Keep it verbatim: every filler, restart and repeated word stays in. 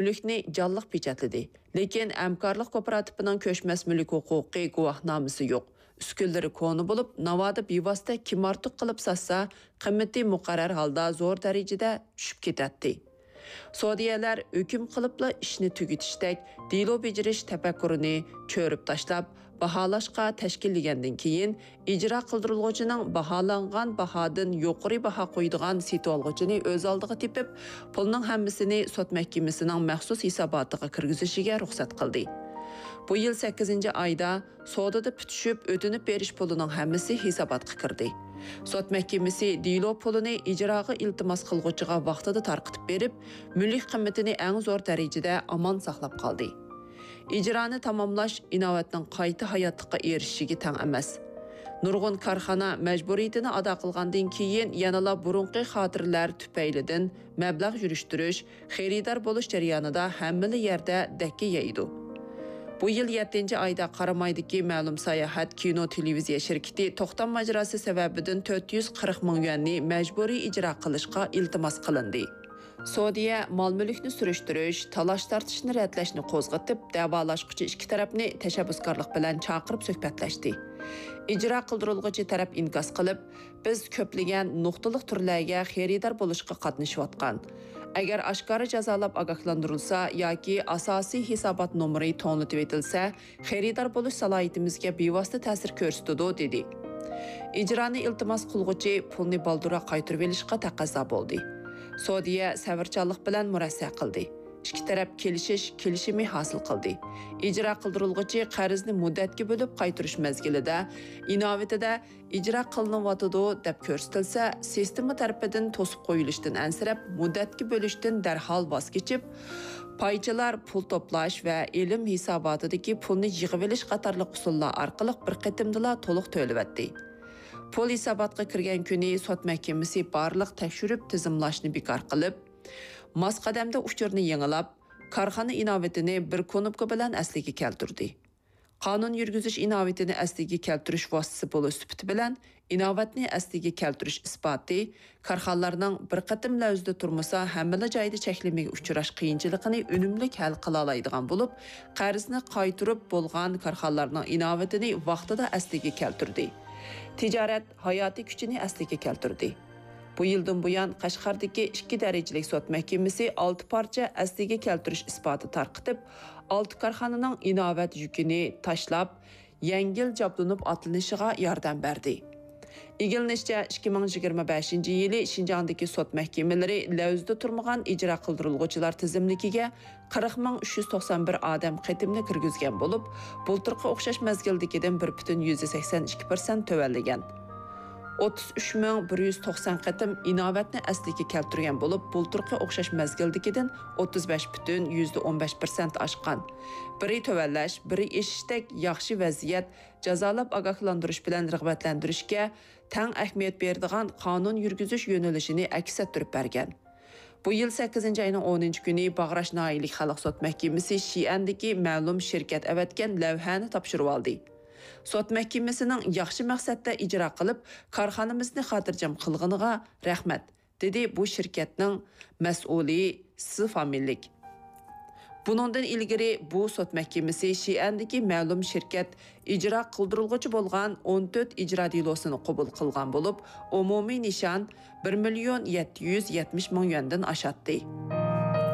مۈلۈكنى جانلىق پېچەتلىدى. لېكىن ھەمكارلىق كوپىراتىپىنىڭ كۆچمەس مۈلۈك ھوقۇقى گۇۋاھنامىسى يوق. ئۈسكۈنىلىرى كونا بولۇپ، ناۋادا بىۋاسىتە كىم ئارتۇق قىلىپ ساتسا، قىممىتى مۇقەررەر ھالدا زور دەرىجىدە چۈشۈپ كېتەتتى. سودىيەلەر ھۆكۈم قىلىپلا ئىشنى تۈگىتىشتەك دېلو بېجىرىش تەپەككۇرىنى چۆرۈپ تاشلاپ، باھالاشقا تەشكىللىگەندىن كېيىن، ئىجرا قىلدۇرۇلغۇچىنىڭ باھالانغان باھادىن يۇقىرى باھا قويىدىغان سېتىۋالغۇچىنى ئۆز ئالدىغا تېپىپ، پۇلنىڭ ھەممىسىنى سوت مەھكىمىسىنىڭ مەخسۇس ھېساباتىغا كىرگۈزۈشىگە رۇخسەت قىلدى. بۇ يىل سەككىزىنچى ئايدا سودىدا پۈتۈشۈپ ئۆتۈنۈپ بېرىش پۇلىنىڭ ھەممىسى ھېساباتقا كىردى. سوت مەھكىمىسى دېلو پۇلىنى ئىجراغا ئىلتىماس قىلغۇچىغا ۋاقتىدا تارقىتىپ بېرىپ، مۈلۈك قىممىتىنى ئەڭ زور دەرىجىدە ئامان ساقلاپ قالدى. ئىجرانى تاماملاش ئىناۋەتنىڭ قايتا ھاياتلىققا ئېرىشىشىگە تەڭ ئەمەس. نۇرغۇن كارخانا مەجبۇرىيىتىنى ئادا قىلغاندىن كېيىن، يەنىلا بۇرۇنقى خاتىرىلەر تۈپەيلىدىن مەبلەغ يۈرۈشتۈرۈش، خېرىدار بولۇش جەريانىدا ھەممىلا يەردە دەككە يەيدۇ. بۇ يىل يەتتىنچى ئايدا قارامايدىكى مەلۇم ساياھەت، كىنو، تېلېۋىزىيە شىركىتى توختام ماجىراسى سەۋەبىدىن تۆت يۈز قىرىق مىڭ يۈەننى مەجبۇرىي ئىجرا قىلىشقا ئىلتىماس قىلىندى. سودىيە مال-مۈلۈكنى سۈرۈشتۈرۈش، تالاش-تارتىشنى رەتلەشنى قوزغىتىپ، دەۋالاشقۇچى ئىككى تەرەپنى تەشەببۇسكارلىق بىلەن چاقىرىپ سۆھبەتلەشتى. ئىجرا قىلدۇرۇلغۇچى تەرەپ ئىنكاس قىلىپ، بىز كۆپلىگەن نۇقتىلىق تۈرلەرگە خېرىدار بولۇشقا قاتنىشىۋاتقان. ئەگەر ئاشكارا جازالاپ ئاگاھلاندۇرۇلسا ياكى ئاساسىي ھېسابات نومۇرى توڭلىتىۋېتىلسە، خېرىدار بولۇش سالاھىيىتىمىزگە بىۋاسىتە تەسىر كۆرسىتىدۇ، دېدى. ئىجرانى ئىلتىماس قىلغۇچى پۇلنى بالدۇرراق قايتۇرۇۋېلىشقا تەقەززا بولدى. سودىيە سەۋرچانلىق بىلەن مۇرەسسە قىلدى. ئىككى تەرەپ كېلىشىش كېلىشىمى ھاسىل قىلدى. ئىجرا قىلدۇرۇلغۇچى قەرزنى مۇددەتكە بۆلۈپ قايتۇرۇش مەزگىلىدە ئىناۋىتىدە ئىجرا قىلىنىۋاتىدۇ دەپ كۆرسىتىلسە، سىستېما تەرىپىدىن توسۇپ قويۇلۇشتىن ئەنسىرەپ، مۇددەتكە بۆلۈشتىن دەرھال ۋاز كېچىپ، پايچىلار پۇل توپلاش ۋە ئېلىم ھېساباتىدىكى پۇلنى يىغىۋېلىش قاتارلىق ئۇسۇللار ئارقىلىق بىر قېتىمدىلا تولۇق تۆلىۋەتتى. پۇل ھېساباتقا كىرگەن كۈنى سوت مەھكىمىسى بارلىق تەكشۈرۈپ تىزىملاشنى بىكار قىلىپ، ماس قەدەمدە ئۇچۇرنى يېڭىلاپ، كارخانا ئىناۋىتىنى بىر كۇنۇپكا بىلەن ئەسلىگە كەلتۈردى. قانۇن يۈرگۈزۈش ئىناۋىتىنى ئەسلىگە كەلتۈرۈش ۋاسىتىسى بولۇش سۈپىتى بىلەن، ئىناۋەتنى ئەسلىگە كەلتۈرۈش ئىسپاتى، كارخانىلارنىڭ بىر قېتىم لەۋزىدە تۇرمىسا، ھەممىلا جايدا چەكلىمىگە ئۇچراش قىيىنچىلىقىنى ئۈنۈملۈك ھەل قىلالايدىغان بولۇپ، قەرزنى قايتۇرۇپ بولغان كارخانىلارنىڭ ئىناۋىتىنى ۋاقتىدا ئەسلىگە كەلتۈردى. تىجارەت ھاياتىي كۈچىنى ئەسلىگە كەلتۈردى. بۇ يىلدىن بۇيان، قەشقەردىكى ئىككى دەرىجىلىك سوت مەھكىمىسى ئالتە پارچە ئەسلىگە كەلتۈرۈش ئىسپاتى تارقىتىپ، ئالتە كارخانىنىڭ ئىناۋەت يۈكىنى تاشلاپ، يەڭگىل جابدۇنۇپ ئاتلىنىشىغا ياردەم بەردى. ئىگىلىنىشىچە، ئىككى مىڭ يىگىرمە بەشىنچى يىلى شىنجاڭدىكى سوت مەھكىمىلىرى لەۋزىدە تۇرمىغان ئىجرا قىلدۇرۇلغۇچىلار تىزىملىكىگە قىرىق مىڭ ئۈچ يۈز توقسان بىر ئادەم قېتىمنى كىرگۈزگەن بولۇپ، بۇلتۇرقى ئوخشاش مەزگىلدىكىدىن بىر پۈتۈن يۈزدە سەكسەن ئىككى پىرسەنت تۆۋەنلىگەن. ئوتتۇز ئۈچ مىڭ بىر يۈز توقسان قېتىم ئىناۋەتنى ئەسلىگە كەلتۈرگەن بولۇپ، بۇلتۇرقى ئوخشاش مەزگىلدىكىدىن ئوتتۇز بەش پۈتۈن يۈزدە ئون بەش پىرسەنت ئاشقان. بىرى تۆۋەنلەش، بىرى ئېشىشتەك ياخشى ۋەزىيەت جازالاپ ئاگاھلاندۇرۇش بىلەن رىغبەتلەندۈرۈشكە تەڭ ئەھمىيەت بېرىدىغان قانۇن يۈرگۈزۈش يۆنىلىشىنى ئەكس ئەتتۈرۈپ بەرگەن. بۇ يىل سەككىزىنچى ئاينىڭ ئونىنچى كۈنى باغراش ناھىيەلىك خەلق سوت مەھكىمىسى شىئەندىكى مەلۇم شىركەت ئەۋەتكەن لەۋھەنى تاپشۇرۇۋالدى. سوت مەھكىمىسىنىڭ ياخشى مەقسەتتە ئىجرا قىلىپ، كارخانىمىزنى خاتىرجەم قىلغىنىغا رەھمەت، دېدى بۇ شىركەتنىڭ مەسئۇلى سى فامىلىلىك. بۇنىڭدىن ئىلگىرى بۇ سوت مەھكىمىسى شىئەندىكى مەلۇم شىركەت ئىجرا قىلدۇرۇلغۇچى بولغان ئون تۆت ئىجرا دېلوسىنى قوبۇل قىلغان بولۇپ، ئومۇمىي نىشان بىر مىليون يەتتە يۈز يەتمىش مىڭ يۈەندىن ئاشاتتى.